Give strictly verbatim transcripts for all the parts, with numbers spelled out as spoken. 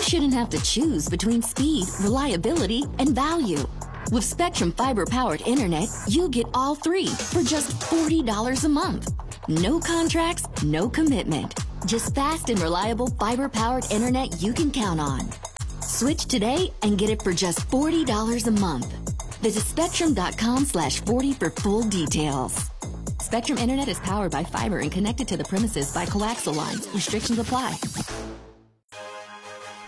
shouldn't have to choose between speed, reliability, and value. With Spectrum fiber-powered internet, you get all three for just forty dollars a month. No contracts, no commitment. Just fast and reliable fiber-powered internet you can count on. Switch today and get it for just forty dollars a month. Visit spectrum.com slash 40 for full details. Spectrum Internet is powered by fiber and connected to the premises by coaxial lines. Restrictions apply.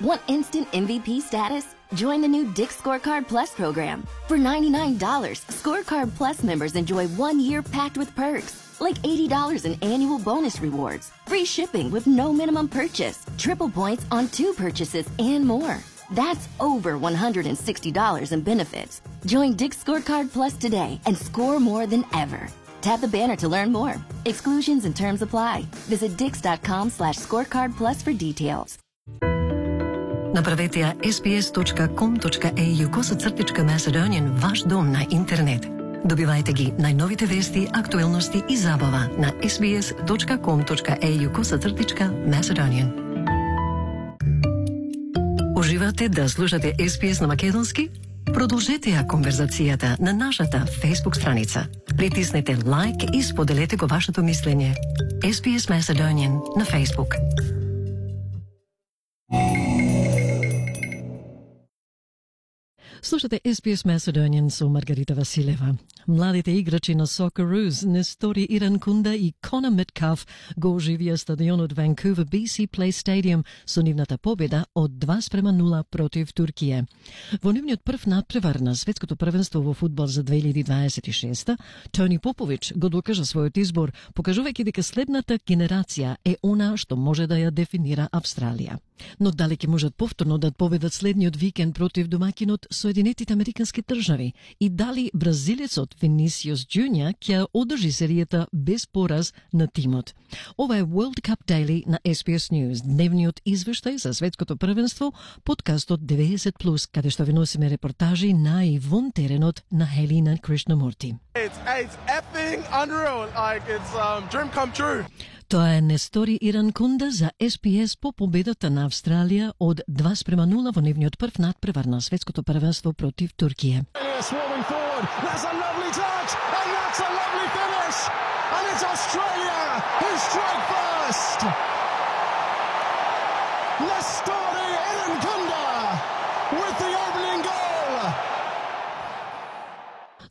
Want instant M V P status? Join the new Dick's Scorecard Plus program. For ninety-nine dollars, Scorecard Plus members enjoy one year packed with perks, like eighty dollars in annual bonus rewards, free shipping with no minimum purchase, triple points on two purchases, and more. That's over one hundred sixty dollars in benefits. Join Dick's Scorecard Plus today and score more than ever. Tap the banner to learn more. Exclusions and terms apply. Visit dix.com slash scorecard plus for details. Направете ја ес би ес точка ком точка ей ю косацртичка Macedonian ваш дом на интернет. Добивајте ги најновите вести, актуелности и забава на ес би ес точка ком точка ей ю косацртичка Macedonian. Уживате да слушате ес би ес на македонски? Продолжете ја конверзацијата на нашата Facebook страница. Притиснете лайк и споделете го вашето мислење. ес би ес Macedonian на Facebook. Слушате ес би ес Macedonian со Маргарита Василева. Младите играчи на Socceroos, Нестори Иранкунда и Конор Меткалф го оживија стадионот Vancouver би си Place Stadium со нивната победа од два спрема нула против Туркија. Во нивниот прв надпревар на светското првенство во фудбал за две илјади дваесет и шеста, Тони Попович го докажа својот избор, покажувајќи дека следната генерација е она што може да ја дефинира Австралија. Но дали ќе можат повторно да победат следниот викенд против домаќинот Соединетите Американски држави и дали бразилецот Винисиус Джуниор ќе одржи серијата без пораз на тимот. Ова е World Cup Daily на ес би ес News, дневниот извештај за светското првенство, подкастот деветдесет плюс, каде што ви носиме репортажи на и вон теренот на Хелина Кришнамурти. It's, it's effing unreal, like it's um, dream come true. Тоа е Нестори Иранкунда за ес би ес по победата на Австралија од два спрема нула во нивниот прв надпревар на светското првенство против Туркија.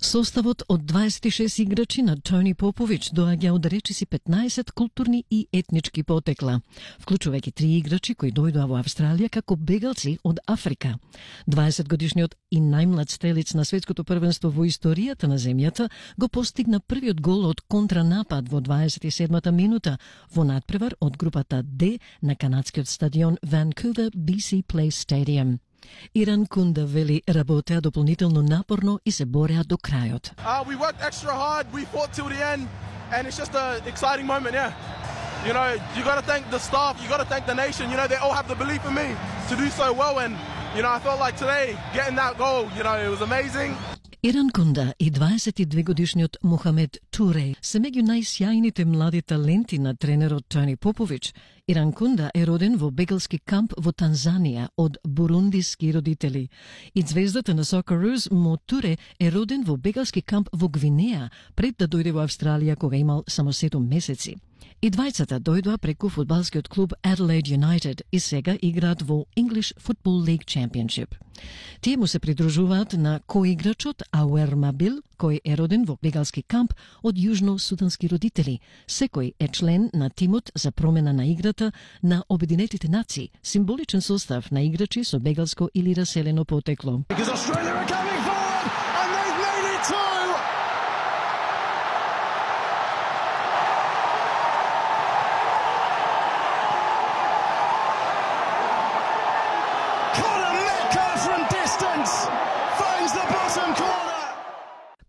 Составот од дваесет и шест играчи на Тони Попович доаѓа од речиси петнаесет културни и етнички потекла, вклучувајќи три играчи кои дојдоа во Австралија како бегалци од Африка. дваесет годишниот и најмлад стрелец на светското првенство во историјата на земјата го постигна првиот гол од контранапад во дваесет и седмата минута во надпревар од групата Д на канадскиот стадион Vancouver би си Place Stadium. Иранкунда вели работеа дополнително напорно и се бореа до крајот. Uh, we worked extra hard, we fought till the end, and it's just an exciting moment, yeah. You know, you got to thank the staff, you got to thank the nation, you know, they all have the belief in me to do so well, and, you know, I felt like today, getting that goal, you know, it was amazing. Иранкунда и дваесет и две годишниот Мухамед Туре се меѓу најсјајните млади таленти на тренерот Тони Попович. Иранкунда е роден во бегалски камп во Танзанија од бурундиски родители. И звездата на Socceroos Мо Туре е роден во бегалски камп во Гвинеја пред да дојде во Австралија кога имал само седум месеци. И двајцата дојдоа преку фудбалскиот клуб Adelaide United и сега играат во English Football League Championship. Тие му се придружуваат на коиграчот Ауер Мабил, кој е роден во бегалски камп од јужно-судански родители. Секој е член на тимот за промена на играта на Обединетите нации, символичен состав на играчи со бегалско или раселено потекло.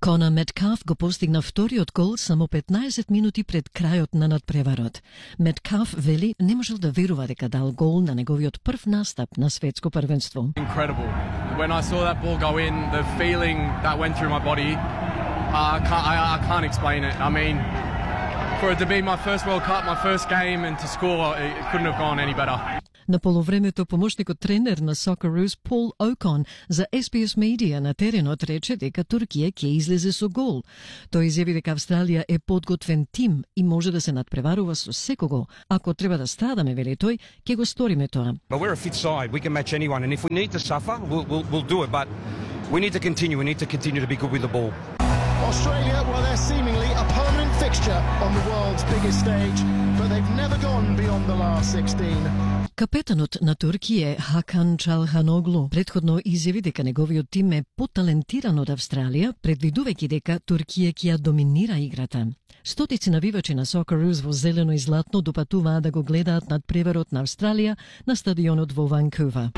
Конор Меткалф го постигна вториот гол само петнаесет минути пред крајот на надпреварот. Меткалф вели не можел да верува дека дал гол на неговиот прв настап на светско првенство. Incredible. When I saw that ball go in, the feeling that went through my body, I can't, I, I can't explain it. I mean, for it to be my first World Cup, my first game, and to score, it couldn't have gone any better. На полувремето помошникот тренер на Socceroos Paul Okon за Ес Би Ес Media на теренот рече дека Туркија ќе излезе со гол. Тој изјави дека Австралија е подготвен тим и може да се надпреварува со секого. Ако треба да страдаме, вели тој, ќе го сториме тоа. But we're a fit side. We can match anyone, and if we need to suffer, we'll, we'll, we'll do it. But we need to continue. We need to continue to be good with the ball. Australia, well, they're seemingly a permanent fixture on the world's biggest stage, but they've never gone beyond the last sixteen. Капетанот на Туркија Хакан Чалханоглу претходно изјави дека неговиот тим е поталентиран од Австралија, предвидувајќи дека Туркија ќе ја доминира играта. Стотици навивачи на Socceroos во зелено и златно допатуваа да го гледаат надпреварот на Австралија на стадионот во Ванкувер.